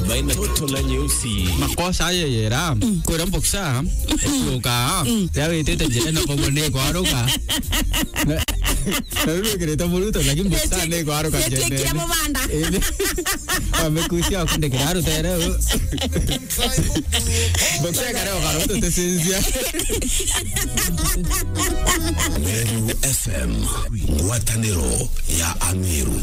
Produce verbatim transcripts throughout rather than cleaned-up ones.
Toto la nyeusi. Makosa ayo yera. Mm. Kwira mboksa. Mm. Kuka. Mm. Ya witite njira na bobo ni kwaruka. Na, na riu wikirite muruto, lakini mboksa ni kwaruka njene. Kira mubanda. Indi. Wamekusia kundikira rutere. Mboksa kare ukaruto tesinzia. Meru F M, ngwataniro ya Ameru.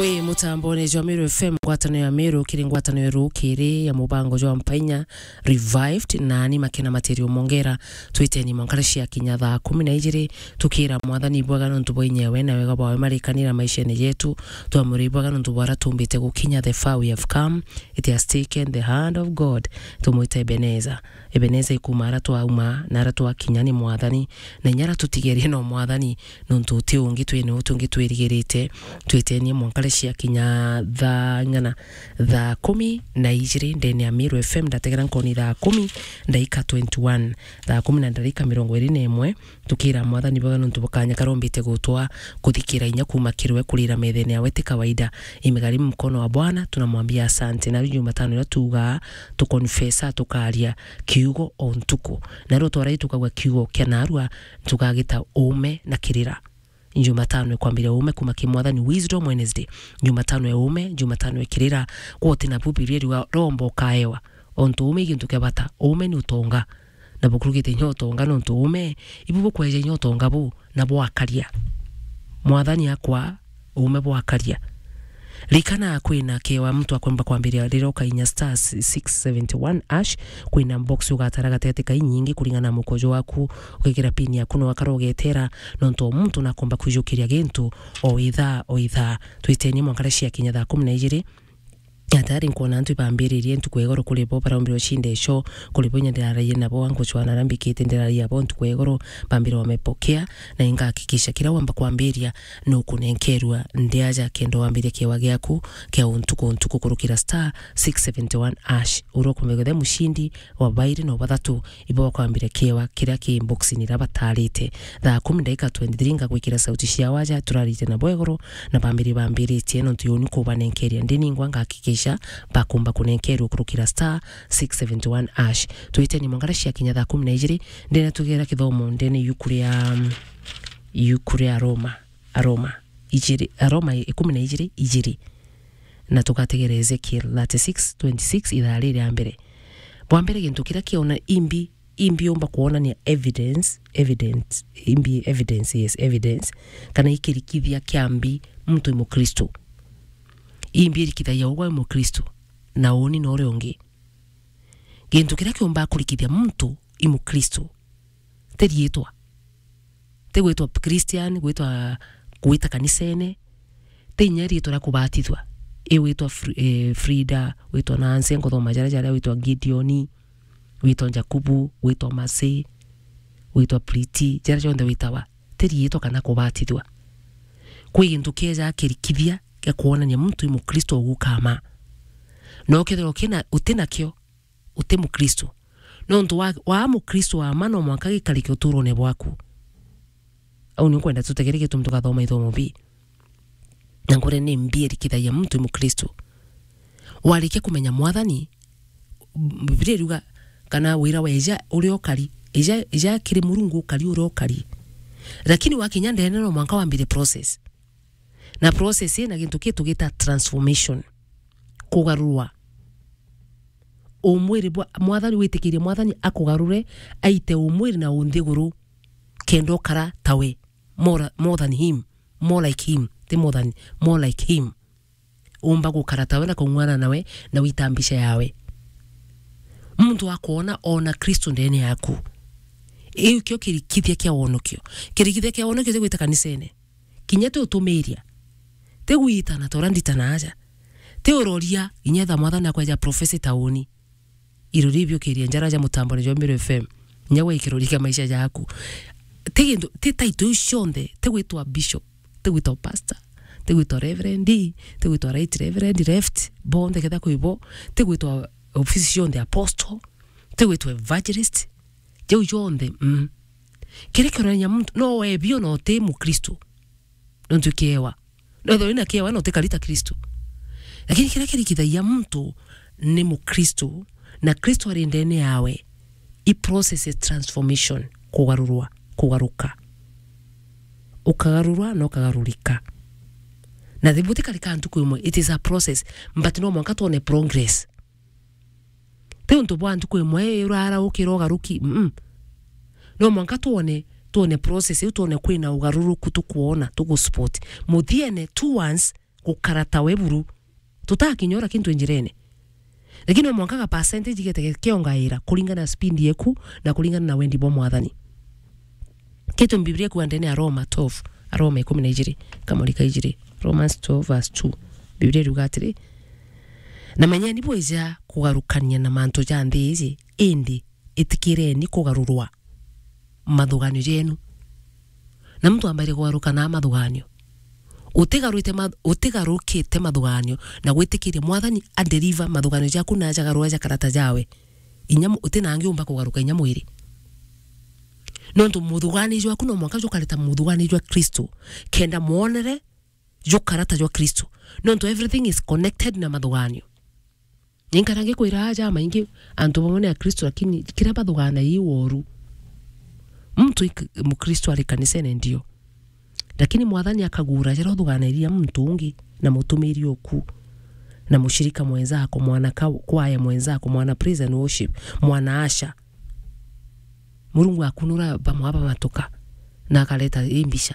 Wi mutambone jwa Meru F M, ngwataniro ya Meru, kiri ngwataniro rukiri ya mubango jwa Mpainya Revived, nani Makena Material Mongera, twiteni mwankara cia kinya thaa kumi na ijiri, tukira Mwathani ibwaga nontu bwa inyewe na wega bwawe marikanira maishene jetu, twamwira ibwaga nontu bwa ara tumbite gukinya, the far we have come, it has taken the hand of God, tumwite Ebeneza. Ebeneza ikuma ara twauma na ara twakinya ni Mwathani, na inya ara tutigerie no Mwathani, nontu uti ungi twine uti ungi twirigirite. Twitenie mwankare cia kinya thaa ng'ana, thaa kumi na ijiri ndene ya Meru F M, ndategera nkoni thaa kumi ndaika twenty-one, thaa kumi na ndarika mirongo iri na imwe, tukira Mwathani bwega nontu bukanya karombite gutwa kuthikira inya kuma kirwe kurira methene yawe ti kawaida. Imegharimu mkono wa Bwana, tunamwambia asante. Na Jumatano ira tuga, tukonfesa, tukaria kiugo o ntuku. Na ru twarai tukagwa kiugo kia narua, tukagita uume na kirira. Jumatano ikwambiria uume kuma ki Mwathani, Wisdom Wednesday. Jumatano ya uume, Jumatano ya kirira. Kwa uti na Bibilia riuga romba ukaewa. Ontu uume i gintu kia bata. Uume ni utonga. Na bukurugite inya utonga nontu uume, ibu bukweja inya utonga bu, na bwakaria. Mwathani akwa, uume bwakaria. Rikana kwina kewa muntu akwemba kwambiria riria ukainya star six seventy one hash, kwina box ugatara gatigati ka inyingi kuringana na mukojo waku, ukekira pin yaku no akara ugetera, nontu o muntu nakomba kwijukiria gintu o ithaa, o ithaa. Twitenie mwankara cia kinya thaa kumi na ijiri, na tayari nkwona antu ibambiririe ntuku ya igoro kuri bo baraumbire ucinde ico, kuri bo inya ndiraragia nabo, angucwana ara mbikite ndiraragia bo ntuku ya igoro, bambire wamepokea, na ingahakikisha kira wamba kwambiria nukunenkerua ndi aja kenda wambiria kiewa giaku kia untuku untuku kurukira star six seventy one hash. Ura ukumenya guthe mucindi wa bairi na bathatu ibo bakwambira kiewa kiria ki boxini iria batarite. Thaa kumi ndaika twenty three ngagwikira sauti cia waja turarite na bwegoro na bambiri bambiritie nontu yoni kubanenkeria ndi ningwa ngahakikisha bakumba kunenkerua kurukira star six seventy one hash. Twiteni mwangara cia kinya thaa kumi na ijiri ndene tugera kithomo ndene yuku ria, yuku ria Roma. Aroma ijiri, Aroma ikumi na ijiri, ijiri. Na tugategera Ezekiel thirty-six twenty-six ithaa riri ria mbere. Bwa mbere gintu kiria kiona imbi, imbi umba kuonania evidence, evidence, imbi evidence, yes, evidence, kana ikirikithia kia mbi muntu i Mukristo. Imbi irikithagia ugwe i Mukristo, na uni na uria ungi. Gintu kiria kiumba kurikithia muntu i Mukristo, ti riitwa. Ti gwitwa Christian, gwitwa, gwita kanisene. Ti inya riitwa ria kubatithua. I witwa Fr-, eh, Frida, witwa Nancy, nkuthoma jaria, jaria witwa Gideoni, witwa Jakubu, witwa Masi, witwa Priti, jaria jonthe witawa. Ti riitwa kana kubatithua. Kwi gintu kieja kirikithia gia kuonania muntu i Mukristo ugukama. No kethirwa kina, uti nakio, uti Mukristo. Nontu wa, wa Mukristo wa ma no mwanka gikarike uturone bwaku. Au ni nkwenda tutegere gitumi tugathoma ithomo bi. Na nkore ni mbi irikithagia muntu i Mukristo. Warikia kumenya Mwathani, Bibilia iruga kana wira wa ija uria ukari, ija, ija kiri Murungu ukari uria ukari. Lakini wakinya ndene no mwanka wambire process. Na process ina gintu ki tugita transformation. Kugarurwa. Umwiri bwa Mwathani, witikirie Mwathani akugarure, aite umwiri na unthiguru, kenda ukara tawe. More, more than him. More like him. Ti more than, more like him. Umba gukara tawe na kung'wana nawe na wita mbica yawe. Muntu akwona ona Kristo ndene yaku. Iu kio kirikithia kia wonokio. Kirikithia kia wonokio ti gwita kanisene. Kinya ti utumiria. Ti gwitana ta uria nditana aja. Ti uroria, kinya etha Mwathani akweja prophecy tauni. Irori biukiria njara ja mutambone jwa Meru F M. Nya gwe ikirori kia maisha jaku. Ti gintu, ti title iu cionthe, ti gwitwa bishop, ti gwitwa pastor, ti gwitwa reverend, ti gwitwa right reverend, left, bonthe ketha kwi bo, ti gwitwa ofisi cionthe apostle, ti gwitwa evangelist. Jau jonthe, mm. Kiria kionania muntu, no webio na uti Mukristo. Nontu kiewa. No ethirwa wina kiewa na utikarita Kristo. Lakini kiria kirikithagia muntu ni Mukristo, na Kristo ari ndene yawe, i process ya transformation, kugarurwa, kugaruka. Ukagarurwa na ukagarurika. Na thi-, butikarika ntuku imwe, it is a process, but no mwanka twone progress. Ti untu bwa ntuku imwe urara ukira ugaruki, mm. No mwanka twone, twone process iu, twone kwina ugaruruku tukwona, tuguspot. Muthiene, two once, gukara ta we buru. Tutakinya ura kintu njirene. Lakini no mwanka ga percentage gete kiongaira kuringana na speed yeku na kuringana na wendi bwa Mwathani. Kitu Biblia ikuuga ndene ya Roma twelve, Aroma ikumi na ijiri, kamuri ka ijiri, Romans twelve verse two. Biblia iruga atiri, "Na menyeni bwija kugarukania na mantu ja nthi iji, indi itikireni kugarurwa mathuganio jenu." Na muntu ambaire kugaruka na mathuganio. Utigarwite ma-, utigarukite mathuganio na gwitikiria Mwathani a deliver mathuganio jaku na ajagarura jakarata jawe. Inya mu-, uti na angi umba kugaruka inya mwiri. Nontu muthugani jwaku no mwanka jukareta muthugani jwa Kristo, kenda mwonere jukarata jwa Kristo. Nontu everything is connected na mathuganio. Ninkara ngikwira aja maingi antu bamwe ni Akristo, lakini kiria bathuganagia i woru. Muntu ik-, Mukristo ari kanisene ndio. Lakini Mwathani akagura jaria uthuganairia muntu ungi na mutumiri oku, na mushirika mwenzako, mwana ka-, kwaya mwenzako, mwana praise and worship, mwana asha. Murungu akunura bamwe bamatuka, na akareta i mbica.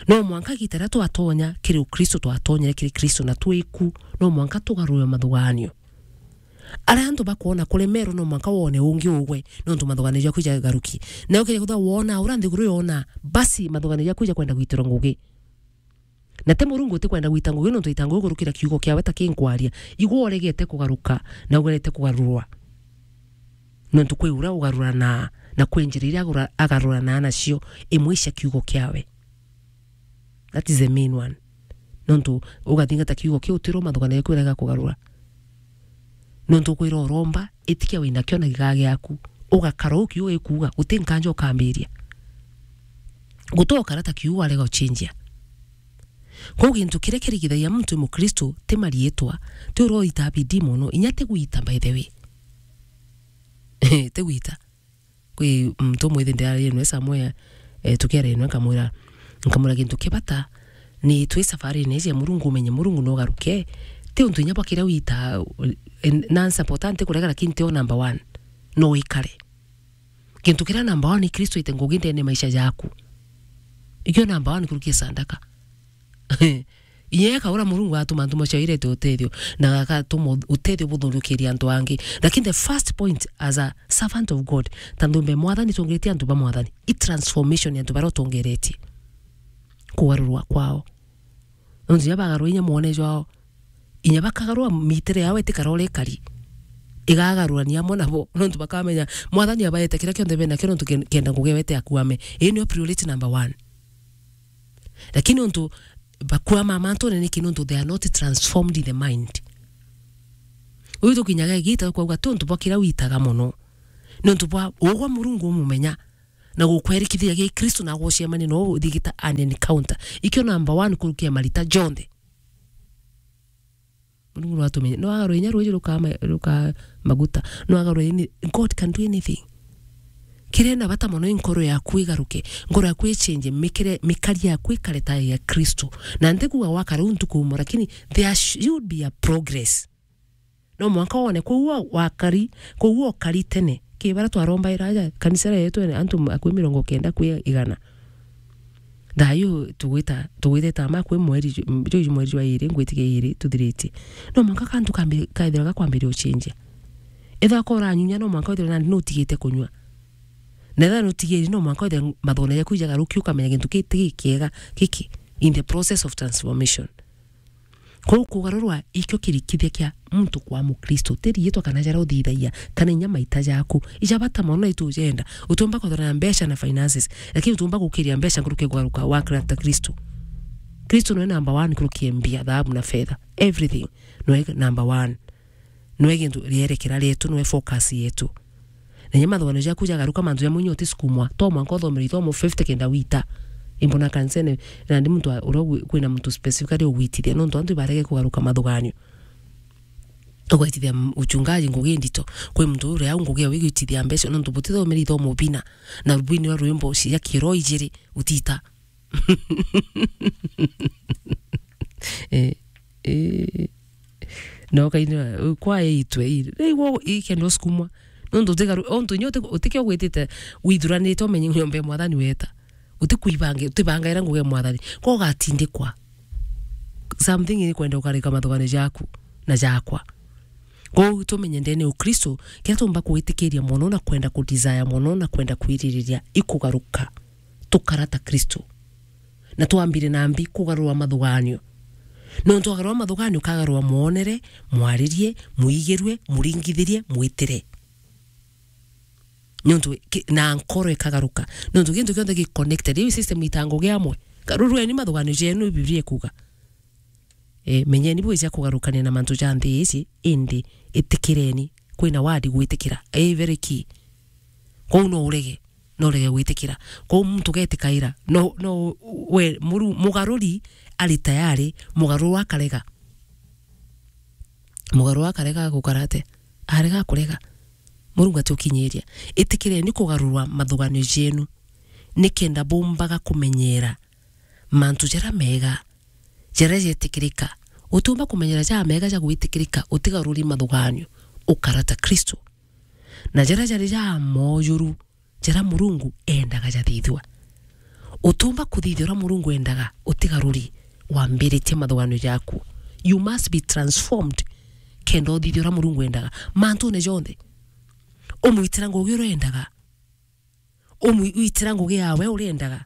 No mwanka gita riria twatonya kiri Ukristo, twatonyere kiri Kristo na twiku, no mwanka tugarure mathuganio. Aria antu bakwona kuremerwa no mwanka wone ungi ugwe, nontu mathuganio jaku jagaruki. Na ukija kuthwa wona, ura nthiguru yona, basi mathuganio jaku jakwenda gwitirwa ngugi. Na ti Murungu utikwenda gwita ngugi, nontu ita ngugi kurukira kiugo kiawe ta kinkwaria. Igwe uregete kugaruka, na uregete kugarurwa. Nontu kwi uria ugarurana, na kwi njira iria agura-, agarurana nacio, imwe cia kiugo kiawe. That is the main one. Nontu ugathingata kiugo kiu, utiro mathuganio jaku urega kugarura. Nontu ukwira uromba, itikia wina kio na gigaa giaku. Ugakara u kiugo gikuuga, guti nkanja ukambiria. Guti ukara ta kiugo warega ucinjia. Kwou gintu kiria kirigithagia muntu wi Mukristo ti mariitwa, ti uria uitaa bidii mono, inya ti gwita, by the way. Ti gwita. Kwi muntu umwe ithi ndiararie nwe somewhere, eh, tukiaria nwe nkamwira, nkamwira gintu kia bata, ni twi safarine iji ya Murungu, umenye Murungu no ugaruke. Ti untu inya bwa kiria wita, eh, na nsapota nti kurega, lakini ti o number one. No wikare. Gintu kiria number one ni Kristo aite ngugi ndene maisha jaku. Ikio number one kurukia sandaka. Inya eka uria Murungu atuma antu macio airete utethio, na agatuma utethio buthurukiria antu angi. Lakini the first point, as a servant of God, ta nthumbe Mwathani, twongeretie antu ba Mwathani, i transformation ya antu baria utongeretie. Kugarurwa kwao. Nontu inya bagarura inya mwone jwao, inya bakagarura mitere yao itikara uria ikari. Igagarurania amwe nabo, nontu bakamenya Mwathani abaete kiria kionthe bena kio, nontu ken-, kenda ngugi yawe iti akuame. Ii niyo priority number one. Lakini untu bakwama mantune niki? Nontu they are not transformed in the mind. Uyu tukinyaga igita kwauga ti untu bwa kiria witaga mono, ni untu bwa ugwa Murungu umumenya na gukwerikithia gi Kristo na gucemania no uthigita an encounter. Ikio number one kurukia marita jonthe. Murungu no atumenye. No agarwe inya ruuji rukaa ma-, rukaa maguta. No agarwe any-, God can do anything. Kiria na bata mono i nkoro yaku igaruke. Nkoro yaku ichenje, mikire-, mikari yaku ikare ta ya Kristo. Na ntikuga wakara u ntuku umwe, lakini there should be a progress. No mwanka wone, kwou wa-, wakari, kwou okari tene. Ki baria twarombaira aja, kanisa yetu ene antu akui mirongo kenda kwi igana. Thayu tugwita, tugwitete ama kwi mweri ju-, juju mweri jwa iri, ngwitikia iri tuthiritie. No mwanka kantu kambi-, kaithira gakwambiria ucenjia. Ethira ko uranyunya, no mwanka withire nandi nutigite kunyua. Na ethira nutigiri, no mwanka withire mathugune jaku ijagaruki, ukamenya gintu kii ti gikiega giki in the process of transformation. Kwou kugarurwa ikio kirikithia kia muntu kwa Mukristo, ti riitwa kana jaria uthithagia, kana inya maita jaku. Ija bata mono na itujenda. Utiumba kwithirwa na mbeca na finances, lakini utiumba gukiria mbeca nkuruki ya kugaruka wa character Kristo. Kristo niwe number one nkuruki ya mbia, thahabu na fedha. Everything. Niwe number one. Niwe gintu rierekera rietu, niwe focus yetu. Na inya mathuganio jaku jagaruka mantu jamwe inya utisukumwa, to mwanka uthomere ithomo fifty kenda wita. Imbona kanisene, nandi muntu wa-, uria ugwi-, kwina muntu specifically ugwitithia, nontu antu ibarege kugaruka mathuganio. Ugwitithia m-, uchungaji ngugi ndito. Kwi muntu uria au ngugi ya wigwitithia mbeca, nontu butithomere ithomo bina, na bwini wa rwimbo cia kiroho ijiri, utita. Eh, eh. No kaini, kwaya itwe, i-, igwo ikenda usukumwa. Nontu utigaru-, ontu inya uti-, utikio gwitite withuranite umenye nyomba ya Mwathani weta. Utikwibange-, utibangaira ngugi ya Mwathani. Ko ugatindikwa. Something ni kwenda ukarika mathugano jaku na jakwa. Kou tumenye ndene Ukristo, kiria tumba gwitikiria mono na kwenda ku desire mono na kwenda kwiririria ikugaruka. Tukara ta Kristo. Na twambire nambi kugarura mathuganio. Nontu wagarura mathuganio, ukagarura mwonere, mwaririe, mwigirue, muringithirie, mwitire. Nontu ki-, na nkoro ikagaruka. Nontu gintu kionthe gi connected. Riu system itangugi amwe. Garurueni mathuganio jenu, Biblia ikuga. Eh, menyeni bwija kugarukania na mantu ja nthi ici, indi itikireni. Kwina word gwitikira. Eh, very key. Kou no urege, no urege gwitikira. Kou muntu ugetikaira. No, no, we, muru-, mugaruri ari tayari, mugaruru akarega. Mugaruru akarega gukara ate? Arega kurega. Murungu atiukinyiria. Itikireni kugarurwa mathuganio jenu, nikenda bumbaga kumenyera mantu jaria mega, jaria jetikirika. Utiumba kumenyera jamega ja gwitikirika utigaruri mathuganio, ukara ta Kristo. Na jaria jari ja moojuru, jaria Murungu endaga jathithua. Utiumba kuthithia uria Murungu endaga utigaruri wambiritie mathuganio jaku. You must be transformed kenda uthithia uria Murungu endaga. Mantune jonthe. Umwitira ngugi uria endaga. Umwitira ngugi yawe uria endaga.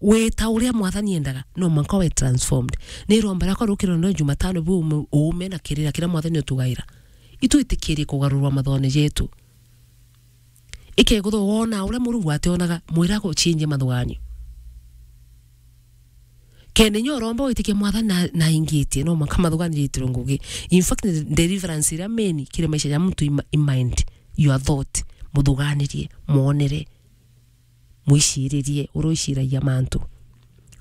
Wita uria Mwathani endaga, no mwanka we transformed. Ni iromba riakwa rukiro no Jumatano bu ume, uume na kirira kiria Mwathani utugaira. Itwitikirie kugarurwa mathuganio jetu. Ikegutho wona uria Murungu ationaga, mwira guchinjia mathuganio. Kende nyo uromba witikie Mwathani na, na ingitie, no mwanka mathuganio jetirwe ngugi. In fact, deliverance iria main kiri maisha ja muntu i ma-, i mind, your thought, muthuganirie, mwonere. Mwiciririe uria uciragia mantu,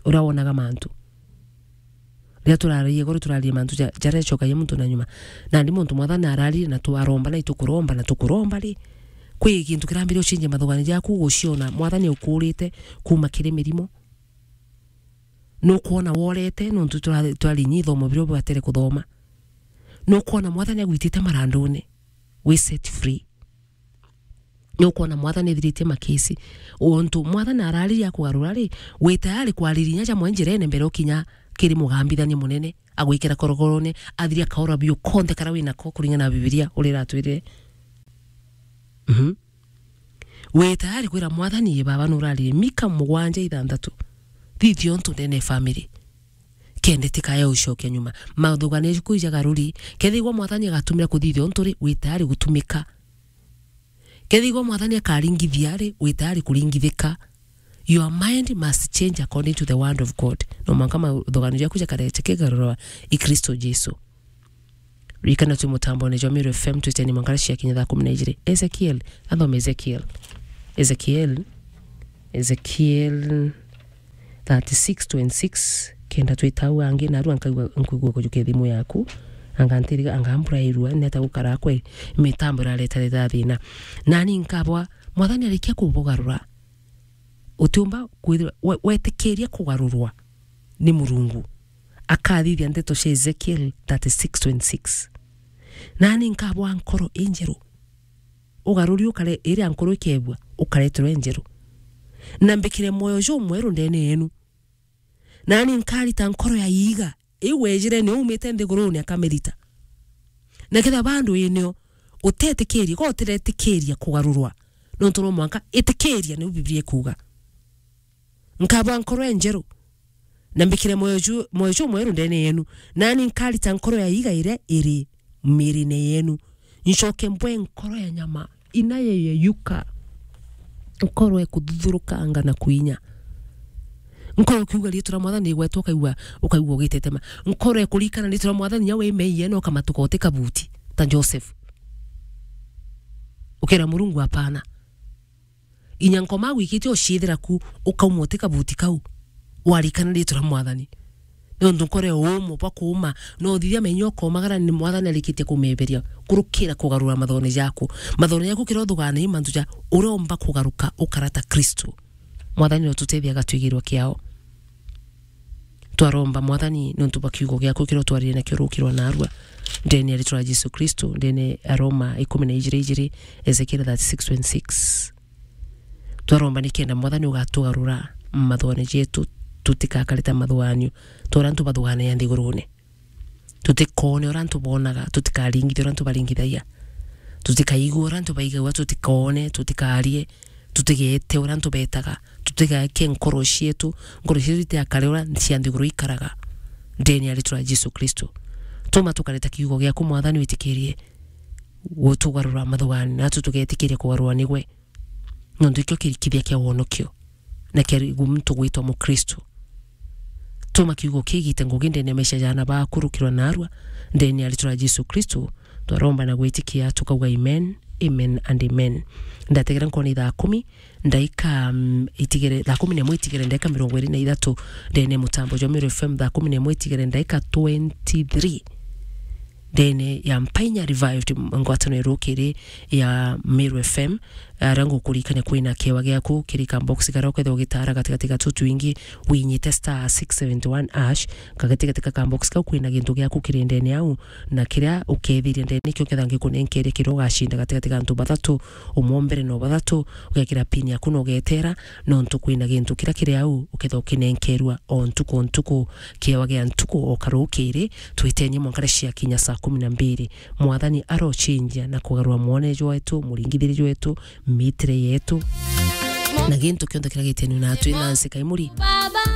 uria wonaga mantu. Riria turaragia igoro, turaragia mantu ja-, jaria jacokagia muntu na nyuma. Nandi muntu Mwathani ararire na twaromba, na itukuromba, na tukuromba ri, kwi gintu kirambiria ucinjia mathuganio jaku, guciona Mwathani aukurite kuma kiri mirimo. Nukwona worete, nontu tura-, turari inya ithomo biria ubatere kuthoma. Nukwona Mwathani agwitite marandune, wi set free. Nukwona Mwathani ethiritie makesi. Untu Mwathani arariria kugarura ri, wi tayari kwariria inya jamwe njirene mbere ukinya kiri mugambithania munene, agwikira korokorone, athiria kaura biu konthe karia winako kuringana na Bibilia uria iratwirire. Mhm. Wi tayari kwira Mwathani, "Ii Baba, nuraririe." Mika mugwanja ithanthatu. Thithia untu ndene ya family. Kende tikaya ucokia nyuma. Mathuganio jaku jagaruri. Kethigwa Mwathani agatumira kuthithia untu ri, wi tayari gutumika. Kethigwa Mwathani akaringithia ri, wi tayari kuringithika. Your mind must change according to the word of God. No mwanka mathuganio jaku jakare jakigarurwa i Kristo Jesu. Ririkana twi mutambone jwa Meru F M, twiteni mwanka cia kinya thaa kumi na ijiri. Ezekiel, athome Ezekiel. Ezekiel, Ezekiel thirty-six twenty-six, kenda twita au angi, narua nkaigua, nkuigua kujukia thimu yaku, anga ntiriga, anga mbura irua, neta gukara kwe, mitambo irareta reta thina. Nani nkabwa, Mwathani arikia kubugarura, utiumba kwithirwa we-, wetikiria kugarurwa ni Murungu. Akathithia ndeto cia Ezekiel thirty-six twenty-six. Nani nkabwa nkoro injeru. Ugaruri ukare, iria nkoro ikebua, ukareterwa injeru. Na mbikire mwoyo jumweru ndene yenu. Nani nkarita nkoro ya iiga, iu wejire ni umite nthigurune akamirita. Na ketha bandu inio, utetikirie, ko utiretikiria kugarurwa. Nontu no mwanka itikiria, niu Biblia ikuuga. Nkabwa nkoro enjeru, na mbikire mwoyo ju-, mwoyo jumweru ndene yenu, nani nkarita nkoro ya iiga iria iri mirine yenu, ncoke mbwe nkoro ya nyama, inayeyeyuka, nkoro ekuthuthuruka anga na kuinya. Nkoro ukiuga riitwa ria Mwathani igwetwa, ukaigua, ukaigua ugitetema. Nkoro ekurikana riitwa ria Mwathani, inya wi meiye, no ukamatuka uti kabuti, ta Joseph. Ukera Murungu, "Hapana." Inya nkoma gwikite uciithira ku, ukauma uti kabuti kau. Warikana ritwa ria Mwathani. Nontu nkoro ya uumo bwa kuuma, no uthithia menya ukomagara ni Mwathani arikitie kumeberia. Kurukira kugarura mathone jaku. Mathone jaku kira uthugana i mantu ja uria umba kugaruka ukara ta Kristo. Mwathani no tutethia agatwigirwa kiao. Twaromba Mwathani nontu bwa kiugo giaku kiria utwaririe nakio rukirwa narua. Ndene ya ritwa ria Jesu Kristo, ndene ya Roma ikumi na ijiri ijiri, Ezekiel thirty-six twenty-six. Twaromba nikenda Mwathani ugatugarura mathugane jetu, tutikakare ta mathuganio, ta uria antu bathuganaya nthigurune. Tutikoone uria antu bonaga, tutikaringithia uria antu baringithagia. Tutikaigue uria antu baigagua, tutikoone, tutikarie, tutigete uria antu betaga, tutigeke nkoro cietu, nkoro cietu itigakare uria cia nthiguru ikaraga. Ndene ya ritwa ria Jesu Kristo. Tuma tukare ta kiugo giaku Mwathani witikirie gutugarura mathugane, natu tugetikiria kugarurwa nigwe. Nontu ikio kirikithia kia wonokio, na kia rigu muntu gwitwa Mukristo. Tuma kiugo kigite ngugi ndene ya maisha ja aana baku rukirwa narua, ndene ya ritwa ria Jesu Kristo, twaromba na gwitikia, tukauga amen, amen and amen. Ndategera nkona ithaa kumi, ndaika, mm, itigere, thaa kumi na imwe itigere ndaika mirongo iri na ithatu, ndene ya mutambo jwa Meru F M, thaa kumi na imwe itigere ndaika twenty-three. Ndene ya Mpainya Revived, ngwataniro irukiri ya Meru F M, aria ngukurikania kwina kiewa giaku kiri ka box karia ukethirwa ugitara gatigati ga tutu twingi, winyite star six seventy one hash, kagatigati ga ka box kau kwina gintu giaku kiri ndene au, na kiria ukethiria ndene nikio ketha ngikunenkeria kiria ugacinda gatigati ga antu bathatu, umwe mbere no bathatu, ugekira pin yaku na ugetera, nontu kwina gintu kiria kiri au, ukethirwa ukinenkerua o ntuku o ntuku, kiewa gia ntuku o karukiri, twitenie mwanka ria ciakinya saa kumi na mbiri. Mwathani arocinjia na kugarura mwone jwetu, muringithiri jwetu, mitire yetu, na gintu kionthe kiria gitenwe natwi. Nancy Kaimuri,